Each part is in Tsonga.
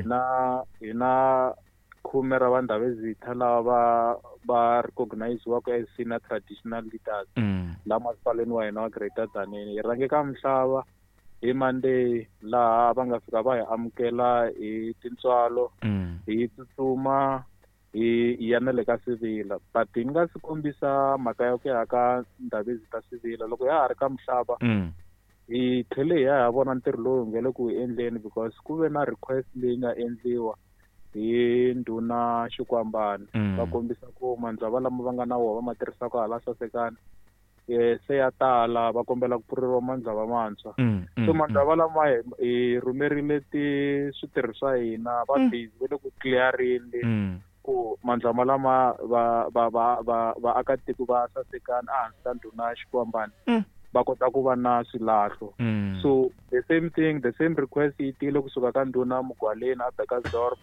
Hi na 10 ra vandhavezitha lava va recogniziwaka as senior traditional leaders la masipaleni wa hina wa Greater Tzaneen. Hi rhange ka Mhlava hi Monday, laha va nga fika va hi amukela hi tintswalo. Hi tsutsuma hi ya na le ka Sivila, but hi nga si kombisa mhaka ya ku ya ka Ndhavezitha Sivila, loko ya ha ri ka Mhlava, hi tlhele hi ya hi vona ntirho lowu hi nge le ku wu endleni, because ku ve na request leyi nga endliwa hi ndhuna Xikwambane. Va kombisa ku mandzava lama va nga na wona va ma tirhisaka hala Sasekani se ya tala, va kombela ku pfureriwa mandzava mantshwa. So mandzava lama hi rhumerile ti switirhi swa hina, va busy va le ku clearini ku mandzama lama va va va va vaakatiko va Sasekani ehansi ka ndhuna Xikwambane va kota ku va na swilahlo. So the same thing, the same request yi tile kusuka ka ndhuna Mugwaleni a Bekkersdorp.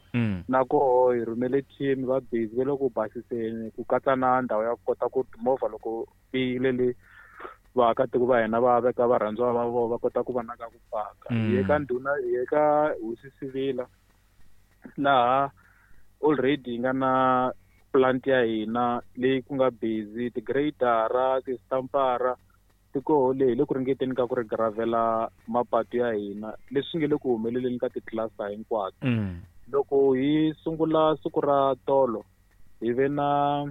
Na koho hi rhumele team, va busy va le ku basiseni, ku katsa na ndhawu ya ku kota ku timovha loko tiyile le vaakatiko va hina va veka varhandziwa va vona, va kota ku va na ka ku paka. Hi ye ka ndhuna, hi ye ka hosi Sivila, laha already hi nga na plant ya hina leyi ku nga busy ti-grader, ti-stampara ti koho leyi hi le ku ringeteni ka ku ri gravela mapatu ya hina, leswi nge le ku humeleleni ka ti-cluster hinkwato. Loko hi sungula siku ra tolo, hi ve na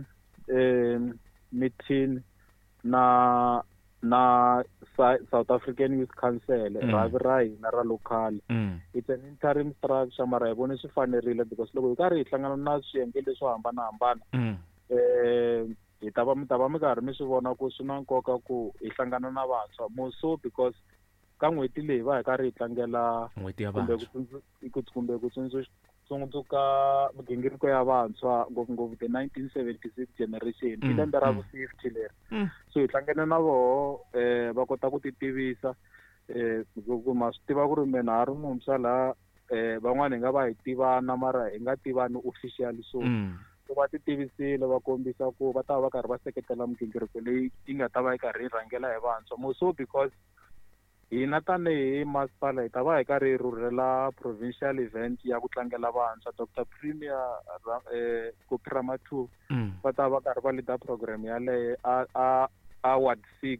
meeting na South African Youth Council, rhavi ra hina ra local. It's an interim structure, mara hi vone swi fanerile because loko hi karhi hi hlangana na swiyenge leswo hambanahambana, hi ta va mi ta va mi karhi mi swi vona ku swi na nkoka ku hi hlangana na vantshwa, more so because ka n'hweti leyi va hi karhi hi tlangela n'hweti ya kumbe ku vantshwa, kumbe ku tsundzuka migingiriko ya vantshwa, ngopfungopfu the 1976 generation, i lembe ra vu-50 leri. So hi hlangene na voho, va kota ku ti tivisa, ku ma swi tiva ku ri mina ha ri muntshwa laha, van'wani hi nga va hi tivana mara hi nga tivani officially. So so va ti tivisile, va kombisa ku va ta va va karhi va seketela migingiriko leyi yi nga ta va yi karhi yi rhangela hi vantshwa, more so because hina tanihi masipala hi ta va hi karhi hi rhurhela provincial event ya ku tlangela vantshwa. Dr Premier Phophi Ramathuba va ta va karhi va leader program yaleyo a ward 6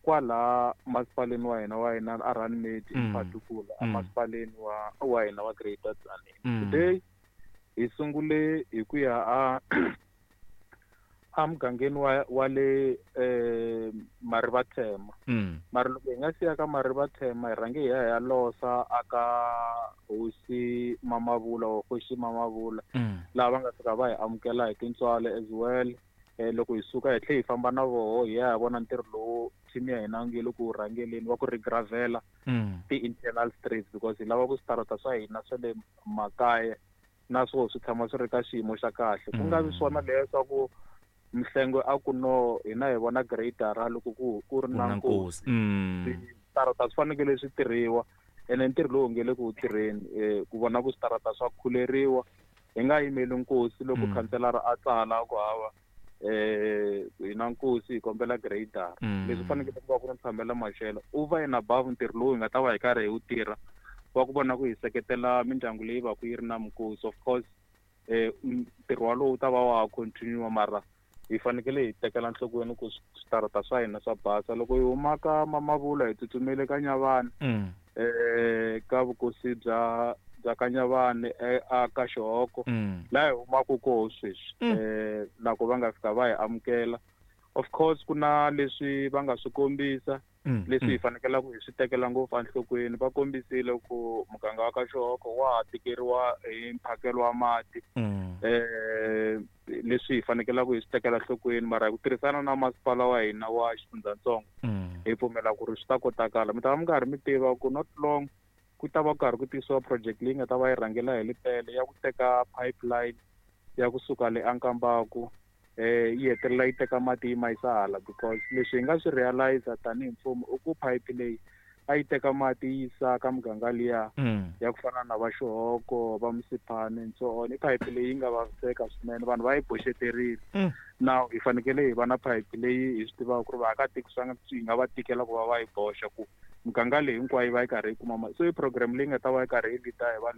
kwala masipaleni wa hina a Runymede, in particular a masipaleni wa hina wa Greater Tzaneen. Today hi sungule hi ku ya a mugangeni wa le Marivathema. Mara loko hi nga siya ka Marivathema, hi rhange hi ya hi ya losa aka hosi Mamavula or Hosi Mamavula, laha va nga fika va hi amukela hi tintswalo as well. Loko hi suka, hi tlhe hi famba na voho hi ya hi vona ntirho lowu team ya hina nge le ku rhangeleni wa ku regravela ti-internal streets, because hi lava ku switarata swa hina swa le makaya na swoho swi tshama swi ri ka xiyimo xa kahle, ku nga vi swona leswaku mihlengo a ku no hina hi vona gradara loko ku ri ku na na nkosi. Nkosi. Switarata swi fanekele swi tirhiwa, ene ntirho lowu nge le ku wu tirheni ku vona ku switarata swa khuleriwa, hi nga yimeli nkosi loko khanselara a tsala ku hava hi na nkosi, hi kombela gradara. Leswi fanekele ku va ku ri ntshambela maxelo over and above ntirho lowu hi nga ta va hi karhi hi wu tirha wa ku vona ku hi seketela mindyangu leyi va ku yi ri na minkosi. Of course, ntirho walowu wu ta va wa ha continue, mara hi fanekele hi tekela nhlokweni ku switarata swa hina swa basa. Loko hi huma ka Mamavula, hi tsutsumele ka Nyavani, ka vukosi bya ka Nyavani, a ka Xihoko, laha hi humaka koho sweswi. Loko va nga fika va hi amukela, of course ku na leswi va nga swi kombisa leswi hi fanekelaka hi swi tekela ngopfu enhlokweni. Va kombisile ku muganga wa ka Xihoko wa ha tikeriwa hi mphakelo wa mati, leswi hi fanekelaka hi swi tekela enhlokweni, mara hi ku tirhisana na masipala wa hina wa xifundzatsongo, hi pfumela ku ri swi ta kotakala. Mi ta va mi karhi mi tiva ku not long ku ta va karhi ku tisiwa project leyi nga ta va yi rhangela hi Lepelle ya ku teka pipeline ya kusuka le Ankambaku, yi hetelela yi teka mati yi ma yisa hala, because leswi hi nga swi realize tanihi mfumo i ku pipe leyi a yi teka mati yi yisa ka muganga liya ya ku fana na va Xihoko, va Msiphane and so on, i pipe leyi yi nga vaviseka swinene, vanhu va yi boxeterile. Now hi fanekele hi va na pipe leyi hi swi tivaka ku ri vaakatiko swi nga swi nga va tikela ku va va yi boxa, ku muganga leyi hinkwayo yi va yi karhi yi kuma mati. So i program leyi nga ta va yi karhi yi lead hi va